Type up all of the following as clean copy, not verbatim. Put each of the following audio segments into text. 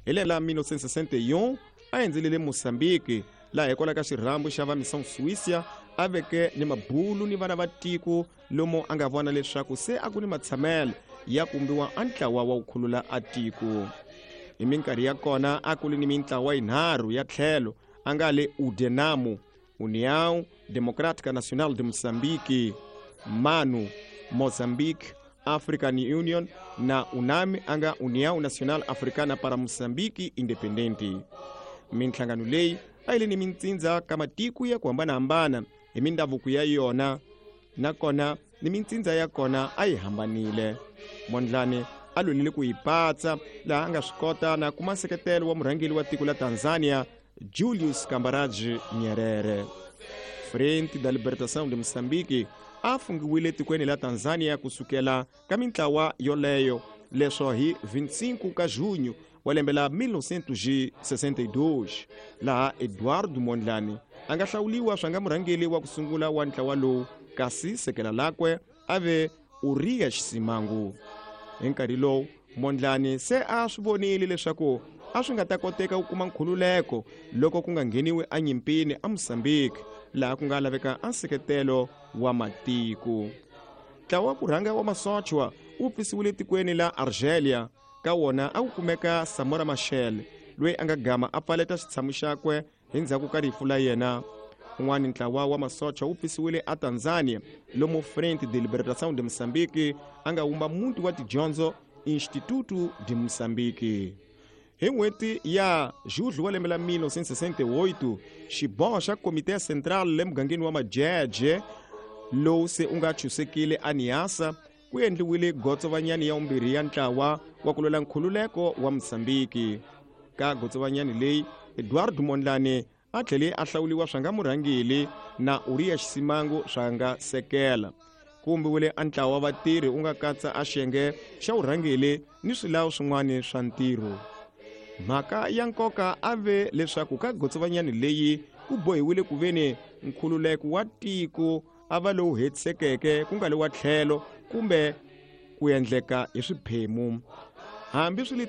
Hi lembe la 1961 a endzelele Mozambique, laha hikwalaho ka xirhambo xa va Missão Suíça a veke ni mabulu ni vana va tiko, lomu a nga vona leswaku se a ku ni matshamelo ya kumbiwa a ntlawa wa ku khulula a tiko. Hi minkarhi ya kona a ku ri ni mintlawa yinharhu ya tlhelo, a nga le Udenamo, União Democrática Nacional de Moçambique, MANU, Mozambique African Union na UNAMI, a nga União Nacional Africana para Moçambique Independente. Minhlangano leyi a yi le ni mintsindza ka matiko ya ku hambanahambana hi mindhavuko ya yona, nakona ni mintsindza ya kona a yi hambanile. Mondlane a lwelile ku yi patsa, laha a nga swi kota na kuma nseketelo wa murhangeri wa tiko la Tanzania Julius Kambarage Nyerere. Frente da Libertação de Moçambique a fungiwile tikweni la Tanzania kusukela ka mintlawa yoleyo, leswo hi 25 ka junho wa lembe la 1962, laha Eduardo Mondlane a nga hlawuliwa swa nga murhangeri wa ku sungula wa ntlawa lowu, kasi sekela lakwe a ve Urias Simangu. Hi nkarhi lowu Mondlane se a swi vonile leswaku a swi nga ta koteka ku kuma nkhululeko loko ku nga ngheniwi enyimpini eMozambique, laha ku nga laveka a nseketelo wa matiko. Ntlawa wa ku rhanga wa masochwa wu pfisiwile tikweni la Argelia, ka wona a ku kumeka Samora Machel, loyi a nga gama a pfaleta xitshamo xakwe hi ndzhaku ka rifu la yena. Un'wana ntlawa wa masocha wu pfisiwile aTanzania, lomu Frente de Libertação de Moçambique a nga wumba muti wa tidyondzo Instituto de Moçambique. Hi n'hweti ya Julho wa lembe la 1968, xiboho xa Komite Central le mugangeni wa Majeje, lowu se u nga chusekile aNiasa, ku endliwile gotsovanyani ya vumbirhi ya ntlawa wa ku lwela nkhululeko wa Mozambique. Ka gotsovanyani leyi, Eduardo Mondlane a tlhele a hlawuliwa swa nga murhangeri na Urias Simango swa nga sekela. Ku vumbiwile a ntlawa wa vatirhi u nga katsa a xiyenge xa vurhangeri ni swilawu swin'wana swa ntirho. Mhaka ya nkoka a ve leswaku ka gotsovanyani leyi ku bohiwile ku veni nkhululeko wa tiko a va lowu hetisekeke, ku nga li wa tlhelo kumbe ku endleka hi swiphemu. Hambi swi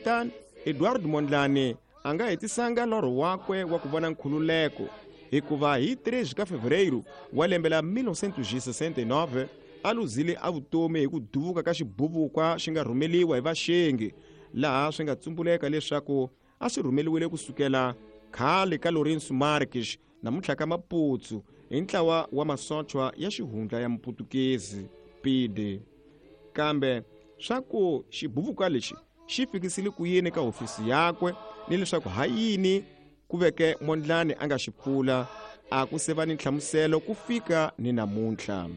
Eduardo Mondlane a nga hetisanga lorho wakwe wa ku vona nkhululeko, hikuva hi 3 ka Fevereiro wa lembe la 1969 a luzile a vutomi hi ku duvuka ka xibuvukwa xi nga rhumeliwa hi vaxengi, laha swi nga tsumbuleka leswaku a swi rhumeliwile kusukela khale ka Lourenço Marques namuntlha ka Maputo hi ntlawa wa masochwa ya xihundla ya Muputukezi PIDE. Kambe swa ku xibuvuka lexi xi fikisile ku yini ka hofisi yakwe ni leswaku ha yini ku veke Mondlane a nga xi pfula, a ku se va ni nhlamuselo ku fika ni namuntlha.